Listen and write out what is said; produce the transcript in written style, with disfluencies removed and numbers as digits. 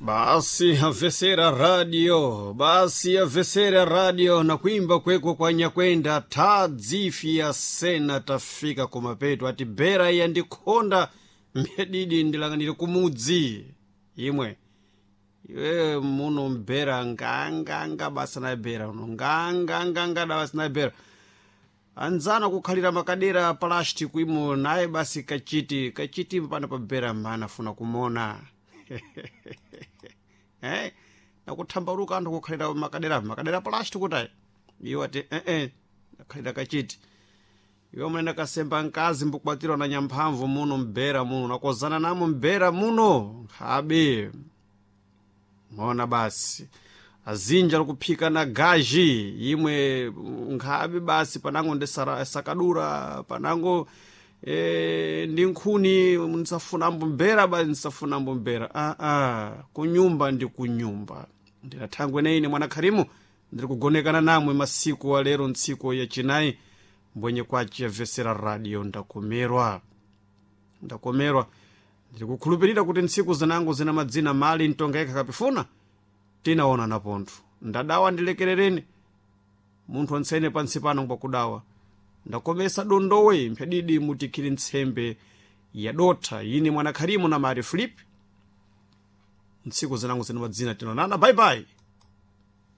Basi amvesera radio, basi amvesera radio na kuimba kwekwo kwa nyakwenda tadzifya sena tafika kumapeto ati bera yandikhonda mbedidi ndilang'anire kumudzi imwe iwe muno mbera nganganga basa na bera uno nganganganga da basi na bera anzana kukhalira makadera plastic imo naye basi kachiti kachiti mpano pa bera mbana funa kumona eh nakuthambaluka anthu kukhalira makadera makadera plastic kutayi iwo ati eh nakhalira kachiti iwe munene kasemba mkazi mbukwatirwa na nyamphamvu muno mbera muno nakozana namo mbera muno nkhabe mona basi azinja likuphika na gaji imwe nkhabe basi panango ndi sakadura panango ndi nkhuni nsafunambo mbera basi nsafunambo mbera aa kunyumba ndi kunyumba ndinathangwe neine mwana kharimu ndiri kugonekana namwe masiku wa lero ntsiku yachinayi mbwenye kwaci yavesera radio ndakomerwa ndakomerwa ndiri kukhulupirira kuti ntsiku zinango zina madzina mali ntonga yekha kapifuna tinaona na pontho ndadawa ndilekerereni munthu ontsene pansi pano ngwakudawa ndakomesa dondowe mphyadidi mutikhiri ntsembe yadotha ine mwana kharimu na mari Filipe ntsiku zinango zina madzina tinaonana bye bye.